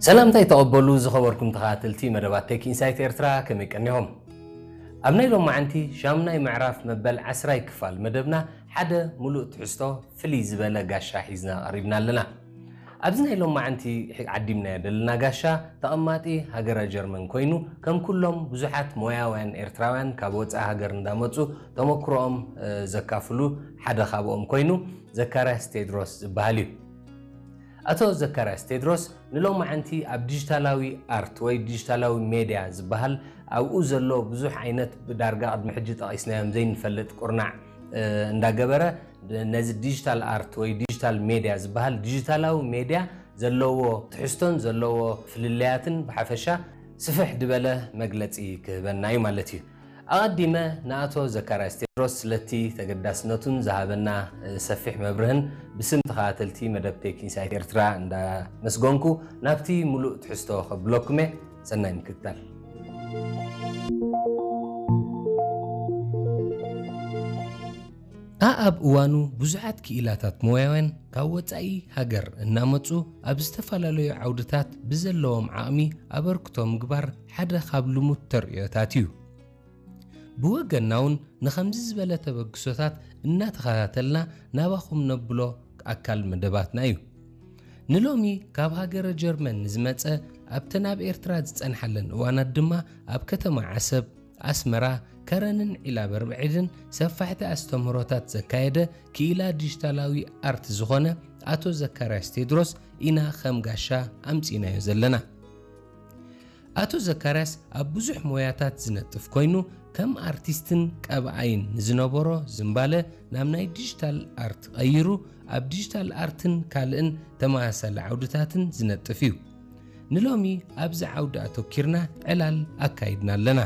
ሰላምታይ ተቐበሉ ዝኸበርኩም ተኸታተልቲ መደባት ቴክ ኢንሳይት ኤርትራ፣ ከመይ ቀኒኹም? ኣብ ናይ ሎማዓንቲ ሻምናይ ምዕራፍ መበል ዓስራይ ክፋል መደብና ሓደ ሙሉእ ትሕዝቶ ፍልይ ዝበለ ጋሻ ሒዝና ቀሪብና ኣለና። ኣብዚ ናይ ሎማዓንቲ ዓዲምናዮ ዘለና ጋሻ ተቐማጢ ሃገረ ጀርመን ኮይኑ፣ ከም ኩሎም ብዙሓት ሞያውያን ኤርትራውያን ካብ ወጻኢ ሃገር እንዳመጹ ተመክሮኦም ዘካፍሉ ሓደ ካብኦም ኮይኑ ዘካርያስ ቴድሮስ ዝበሃል እዩ። ኣቶ ዘካርያስ ቴድሮስ ንሎማዓንቲ ኣብ ዲጂታላዊ ኣርት ወይ ዲጂታላዊ ሜድያ ዝበሃል ኣብኡ ዘሎ ብዙሕ ዓይነት ብዳርጋ ቅድሚ ሕጂ ጠቒስናዮም ዘይንፈልጥ ቁርናዕ እንዳገበረ ነዚ ዲጂታል ኣርት ወይ ዲጂታል ሜድያ ዝበሃል ዲጂታላዊ ሜድያ ዘለዎ ትሕዝቶን ዘለዎ ፍልልያትን ብሓፈሻ ስፍሕ ዝበለ መግለጺ ክህበና እዩ ማለት እዩ። ኣቐዲመ ንኣቶ ዘካርያስ ቴድሮስ ስለቲ ተገዳስነቱን ዝሃበና ሰፊሕ መብርህን ብስም ተኸታተልቲ መደብ ቴክ ኢንሳይት ኤርትራ እንዳመስገንኩ ናብቲ ሙሉእ ትሕዝቶ ከብለኩመ። ሰናይ ምክትታል። ኣኣብ እዋኑ ብዙሓት ክኢላታት ሞያውያን ካብ ወጻኢ ሃገር እናመጹ ኣብ ዝተፈላለዩ ዓውድታት ብዘለዎም ዓቕሚ ኣበርክቶ ምግባር ሓደ ካብ ልሙድ ተርእዮታት እዩ። ብወገንና እውን ንኸምዚ ዝበለ ተበግሶታት እናተኸታተልና ናባኹም ነብሎ ኣካል መደባትና እዩ። ንሎሚ ካብ ሃገረ ጀርመን ንዝመጸ ኣብተን ኣብ ኤርትራ ዝጸንሓለን እዋናት ድማ ኣብ ከተማ ዓሰብ ኣስመራ ከረንን ዒላ በርብዒድን ሰፋሕቲ ኣስተምህሮታት ዘካየደ ክኢላ ዲጂታላዊ ኣርት ዝኾነ ኣቶ ዘካርያስ ቴድሮስ ኢና ከም ጋሻ ኣምጺእናዮ ዘለና። ኣቶ ዘካርያስ ኣብ ብዙሕ ሞያታት ዝነጥፍ ኮይኑ ከም ኣርቲስትን ቀብኣይን ንዝነበሮ ዝንባለ ናብ ናይ ዲጂታል ኣርት ቀይሩ ኣብ ዲጂታል ኣርትን ካልእን ተመሳሳሊ ዓውድታትን ዝነጥፍ እዩ። ንሎሚ ኣብዚ ዓውዲ ኣተኪርና ዕላል ኣካይድና ኣለና።